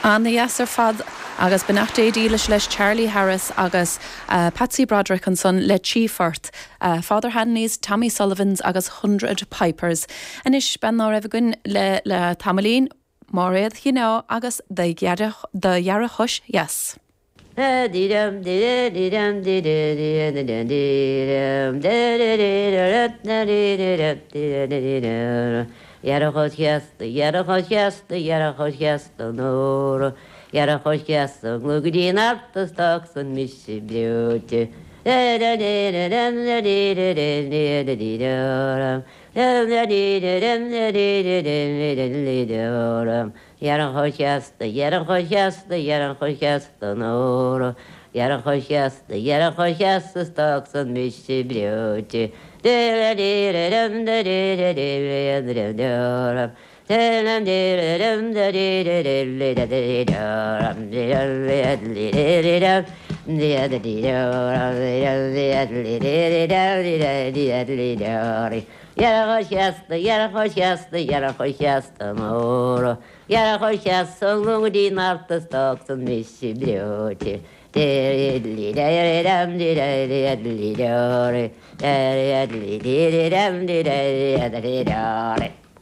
Ana-dheas ar fad agus beannacht Dé dílis leis Charlie Harris agus Patsy Broderick ansan le Trí Phort, Father Hanley's, Tommy Sullivan's agus Hundred Pipers. Anois, bean ná raibh againn le le tamaillín, Máiréad Shineá agus Do Dheargchois Dheas. Dheargchois dheas, do dheargchois dheas, do dheargchois dheas don ór. Dheargchois dheas ón gclog go dtí an art is d'fhág san mise breoite. Dheargchois dheas, do dheargchois dheas, do dheargchois dheas don ór. Dheargchois dheas, do dheargchois dheas is d'fhág san mise breoite. Dheargchois dheas, do dheargchois dheas, do dheargchois dheas don ór. Dheargchois dheas ón gclog go dtí an art is d'fhág san mise breoite.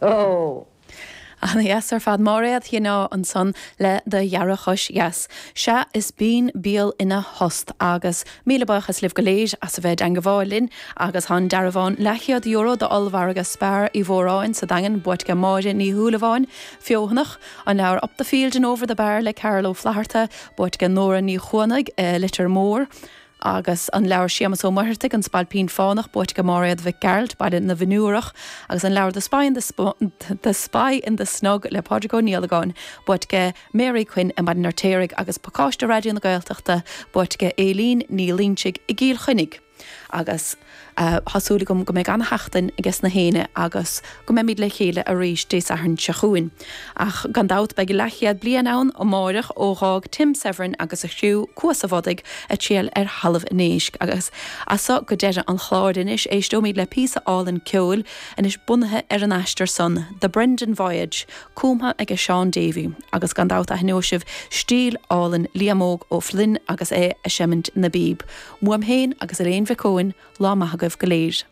Ó! Ana-dheas ar fad. Máiréad Shineá ansan le Do Dheargchois Dheas. Sea, is binn béal ina thost agus míle buíochas libh go léir as a bheith i dteangabháil linn agus tá an dearbhán leathchéad euro d'ollmhargadh Spar Uí Mhóráin sa Daingean buaite age Máire Ní Shúilleabháin, Feothanach, an leabhar Up the Field and Over the Bar le Carl Ó Flaithearta buaite age Nóra Ní Chuanaigh, Leitir Móir. Agus an leabhar Séamus Ó Muircheartaigh, An Spailpín Fánach, buaite age Máiréad Mhic Gearailt, Baile na bhFionnúrach, agus an leabhar The Spy in the The Spy in the Snug le Pádraig Ó Niallagáin, buaite age Mary Quinn i mBaile an Fheirtéaraigh, agus pacáiste Raidió na Gaeltachta buaite age Aileen Ní Loinsigh i gCill Chainnigh. Agus tá súil agam go mbeidh ana-sheachtain ages na héinne agus go mbeimid le chéile arís Dé Sathairn seo chugainn. Ach gan dabht beidh leathchéad bliain ann amáireach ó dh'fhág Tim Severin agus a chriú Cuas a' Bhodaigh a triall ar thalamh an éisc. Agus as so go deireadh an chláir anois éisteoimid le píosa álainn ceoil anois bunaithe ar an aistear san, The Brendan Voyage, cumtha aige Seán Davey. Agus gan dabht aithneoidh sibh stíl álainn Liam Óg Ó Floinn agus é a seimint na bpíob. Uaim féin agus Elaine Mhic Eoin, lá maith agaibh go léir.